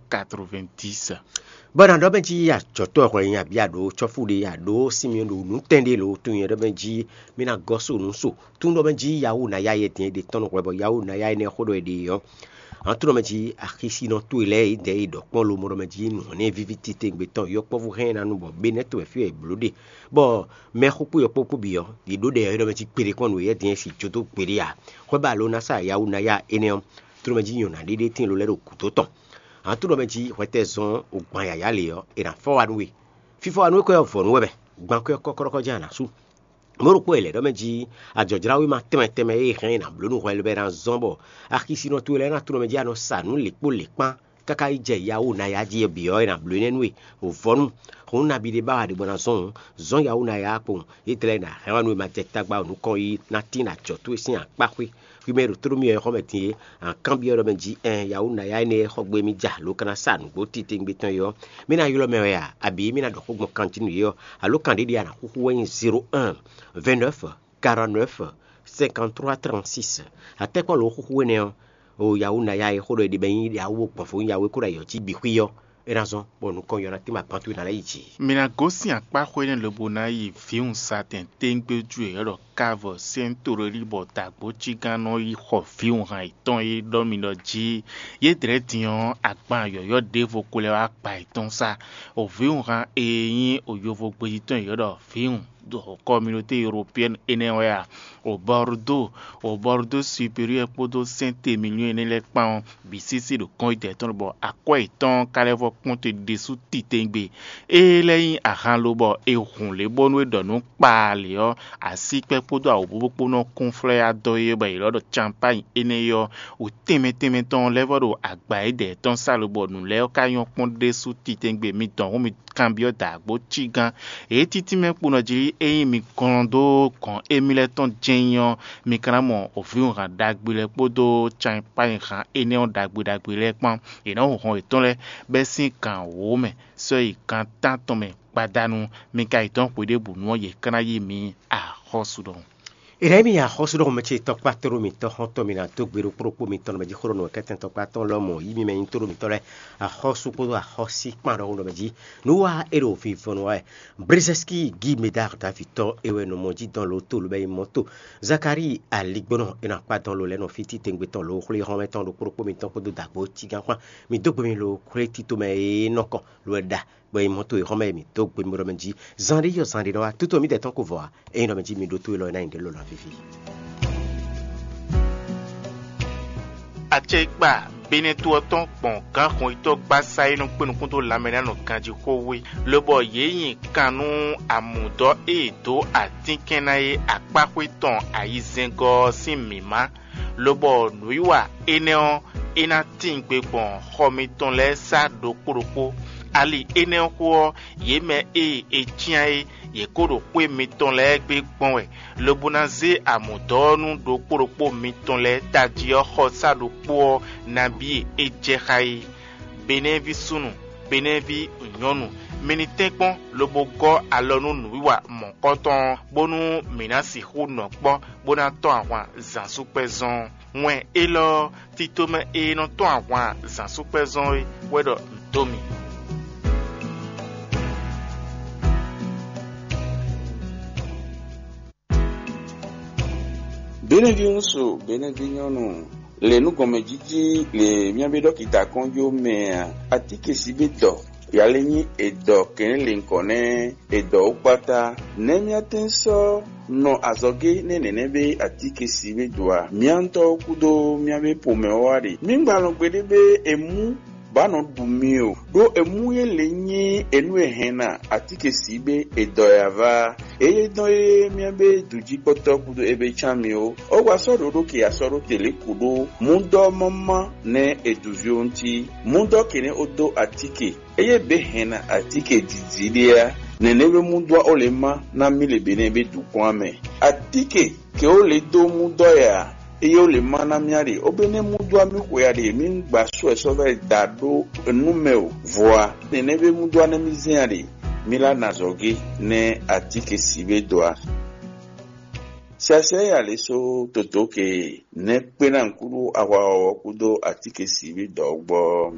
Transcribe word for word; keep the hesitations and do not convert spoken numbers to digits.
quatre-vingt-dix. Bɔ na ɖɔ mɛ jí ajɔtɔ́ hwɛ nyi abí aɖo cɔ́fú ɖé aɖo sinmi ɖo nǔtɛn ɖé lo tun nyɛ ɖɔ mɛ jí mi na gɔ́ so nǔ so tún ɖɔ mɛ jí yawu ná ya yɛ din ɖe tɔn hwɛ bɔ yawu ná ya énɛ́ xó ɖɔ è ɖe ɔ́. An tún ɖɔ mɛ jí axisínɔ towe lɛ́ɛ é dɛ é ɖɔ kpɔ́n lomo ɖɔ mɛ jí nǔ nɛ víví titewungbe tɔn yɔkpɔ́vú hɛn ná nu bɔ bé nɛ́ to wɛ fí wɛ è blǒ ɖe. Bɔ mɛxó kpó yɔkpɔ́vú kpó bǐ ɔ́, yě ɖó ɖɛ ɔ́ é ɖɔ mɛ jí kpeɖé kpɔ́n nǔ é yɛ din é si jó dó gbeɖé ǎ. Hwɛ ba lo ná sa yawu ná ya énɛ́ ɔ́, tún ɖɔ mɛ jí nyɔ̌ná ɖé ɖé tín lo lɛ́ ɖo gǔdo tɔn. An tún ɖɔ mɛ jí hwɛtɛ́zɔn o gban yǎyá lě ɔ́, è nǎ fɔ wá nú we. Fífɔ wá nú we kɔ́ ɔ́ vɔ̌ nú wɛ bɛ, gban kɔ́ ɔ́ kɔ́kɔ́ɖɔkɔ́ jɛ́n a nǎ sú. Mɔ̌ ɖokpó e lɛ̌ ɖɔ mɛ jí ajɔ̌jláwéma tɛnmɛ tɛnmɛ e hɛn è nǎ bló nú hwɛ lɛ́ɛ ná zɔ́n bɔ axisínɔ towe lɛ́ɛ ná tunɔ mɛ jí a nɔ sa nǔ lě kpó lě kpán káká yi jɛ yawu ná ya jí ɔ́ bǐ ɔ́, è nǎ bló énɛ́ nú we. Vɔ̌nu, hǔn nabí ɖé ba wɛ a ɖě bɔ ná zɔ́n hǔn, zɔ́n yawu ná ya kpowun. Yétɛlɛ ná hɛn wá nú we ma jɛ tagba o nukɔn yi ná tín ajɔ towe sín akpáxwé. Hwi mɛ e ɖo tóɖó mì ɔ́, é xɔ mɛ din é, a nǎ kanbyɔ́ ɖɔ mɛ jí ɛn yawu ná ya énɛ́ xɔ gbé mì ja lǒ ka ná sa nǔgbó titewungbe tɔn é ɔ́, mì ná ylɔ́ mɛ wɛ a, abǐ mì ná ɖɔ xó gbɔn kan jí nú yě ɔ́, alo kan ɖé ɖíe a nǎ xúxú wɛ nyí zéro un, vingt-neuf, quarante-neuf, cinquante-trois, trente-six. Atɛ́kpɔ́ lǒ xúxú énɛ́ ɔ́, o yawu ná ya é xó ɖɔ è ɖe bɛ nyí yawu gbɔn fó nyí yawu é kó ɖo ayǐ ɔ́ jí bǐ xwí ɔ́, é ná zɔ́n bɔ nukɔn yɔ ná tín bɔ agban towe ná lɛ́ yi jǐ. Mi ná gosín akpáxwé nɛ́ lobo ná yi vǐwun satɛn téńgbéjú e è ɖɔ kávɔ sɛ́n torelí bɔ dǎgbócígán nɔ yi xɔ vǐwunhan yětɔn e ɖɔ mi ɖɔ jí yé dlɛ̌ din ɔ́, agban yɔ̌yɔ́ ɖěvo ko lɛ́ wá gba yětɔn sá. O vǐwunhan e nyí o yovo gbéjí tɔn e è ɖɔ vǐwun ɖo communauté européenne énɛ́ wɛ a? O Bordeaux, o Bordeaux supérieur kpódó Saint-Émilion énɛ́ lɛ́ɛ kpán ɔ́, bǐ sísí ɖo kɔn yi dɛ̌ tɔn bɔ akwɛ́ yětɔn ka lɛ́ vɔ kpɔ́n te ɖésú titewungbe. Ée lɛ́ nyí ahan lo bɔ è hun lě bónú é ɖɔ nǔ kpaa lě ɔ́, asíkpɛ́ kpódó awǒbúbú kpó nɔ kún flɛ́ adɔ é bɔ è lɔ́ ɖɔ canpány énɛ́ é ɔ́, wǔ tɛnmɛ tɛnmɛ tɔn lɛ́ vɔ ɖo agba é dɛ̌ tɔn sá lo bɔ nǔ lɛ́ɛ ɔ́ ka nyɔ́ kpɔ́n ɖésú titewungbe. Mi dɔn hǔn mi kanbyɔ́ dǎgbó cígán. Ě títí mɛ kpo nɔ jí ényí mi glɔ́n dó gɔ̌n émí lɛ́ɛ tɔn jɛ́n nyí ɔ́, mi ka ná mɔ vǐwunhan ɖagbe lɛ́ɛ kpódó canpányɛhan énɛ́ ɔ́ ɖagbe ɖagbe lɛ́ɛ kpán. È nɔ́ hun hɔn yětɔn lɛ́ɛ bɛ́ sín gǎn wǒ mɛ sɔ́ yi gǎn tántɔn mɛ gbadanu. Mi ka yi dɔn xwe ɖěbǔ nu ɔ́, yě ka ná yí mi axɔ́sú ɖɔhun. È nǎ yí mi axɔ́sú ɖɔhun mɛ ce tɔkpá tóɖó mitɔ́ xɔ́ntɔn mi ná dó gbe ɖokpó ɖokpó mitɔn nɔ mɛ jí xó ɖɔ nǔ kɛ́tɛn tɔkpá tɔn lɔmɔ̌ yí mi mɛ nyí tóɖó mitɔn lɛ́ɛ axɔ́sú kpódó axɔ́sí kpán ɖɔhun ɖɔ mɛ jí. Nǔ wa é ɖo vivɔnu wa wɛ. Brezɛski Gí Medar Davitɔ é wɛ nɔ mɔ jí dɔn lo tó lobɛ yi mɔ tó. Zakari aligbɔnɔ é nɔ akpá dɔn lo lɛ́ɛ nɔ fí titewungbe tɔn lo xwlé xɔ́mɛ tɔn ɖokpó ɖokpó mitɔn kpódó dǎgbó cígán kpán. Mi dó gbe mi lo xwlé tito mɛ e nɔ kɔn lo wɛ ɖa. Bɔ yi mɔ tó e xɔ́mɛ mi dó gbe mi ɖɔ mɛ jí. Zan ɖé yɔ zan ɖé nɔ wá tútú mi tɛ́ tɔn ko vɔ a? Ényí ɖɔ mɛ jí mi ɖó tó e lɔ é ná nyi ɖě lɔ ná fífí. Acɛkpa Benɛto ɔ́ tɔn gbɔn gǎnxɔnyitɔ́ gbásá e nɔ kpé nukún dó lanmɛ ná nɔ ganjí xó wé, lobɔ yě nyi kan nú amǔdɔ́ e è dǒ atínkɛn ná é akpáxwé tɔn ayizɛ́ngɔ́ ɔ́ sín mǐmá, lobɔ nǔwiwa énɛ́ ɔ́, é ná tíin gbe gbɔn xɔ mitɔn lɛ́ɛ sá ɖokpó ɖokpó. Ali énɛ́ ɔ́ xó ɔ́, yě mɛ e è cyán é, yě kó ɖo xwé mitɔn lɛ́ɛ gbe gbɔn wɛ, lobo ná zé amǔdɔ́ ɔ́ nú ɖokpó ɖokpó mitɔn lɛ́ɛ tají ɔ́ xɔsá ɖokpó ɔ́ nabí e é jɛ xá é. Benɛ́ví súnnu, Benɛ́ví nyɔ̌nu, mi ní tɛ́nkpɔ́n lobo gɔ́ alɔ nú nǔwiwa mɔ̌kɔtɔn ɔ́, bónú mǐ ná sixú nɔ kpɔ́ bó ná tɔ́n ahwan zǎnsúkpɛ́zɔn ɔ́. Wɛn élɔ́ ɔ́, tito mɛ e nɔ tɔ́n ahwan zǎnsúkpɛ́zɔn é wɛ ɖɔ nǔ dó mì. Benɛví ŋúsu, Benɛví nyɔ́nu, le nú gɔnmɛjíjí le mía bí ɖɔkita kɔn jó mɛ a? Atíkesibédɔ, yalé nyí edɔ kɛnlɛ́nlɛ̌nkɔ nɛ́ edɔ wú kpáta. Nɛ̌ mía tɛ́n sɔ́ nɔ azɔ̌gé nɛ́ nɛ̌nɛ́ bé atíkesibédɔ a? Mía ŋutɔ́ kúdó mía bí pomɛ ɔ́ wá ɖe. Mí gba nɔ gbeɖé bé è mú bá nɔ ɖu mi o, ɖó è mú yě lě nyí enú e hɛn ná atíkesibé edɔ e ava. Eye dɔn e mía bé dǔjíkpɔ́tɔ́ kúdó é bé cán mi ó. Ó wá sɔ́ ɖoɖó ke asɔ́ ɖó te lě kú ɖó mú dɔ́ mɔ́má nɛ́ è dǔ ví ó ŋuti. Mú dɔ́ kɛnɛ́ ó dó atíke. Eye bě hɛn ná atíke dǐdí ɖé á, nɛ̌nɛ́ bé mú dɔ́ ó lě má ná mí le bě nɛ́ bé dǔ kplɔ́n mɛ. Atíke ke ó lě dó mú dɔ́ yɛ a? Eye ó lě má ná mía ɖe, ó bé nɛ́ mú dɔ́ mí xwe a ɖe mí gba sɔ́ ɛ sɔ́ vɛ́ da ɖó nú mɛ o. Vɔ a, nɛ̌nɛ́ bé mú dɔ́ nɛ́ mí zɛ́n a ɖe, mí lá na azɔ̌ gé nɛ́ atíke sǐ bé dó a? Siasɛ e alě só toto ke nɛ́ kpé ná kúɖú ahwa ɔ́ kúdó atíke sǐ bé dɔ̌ gbɔ.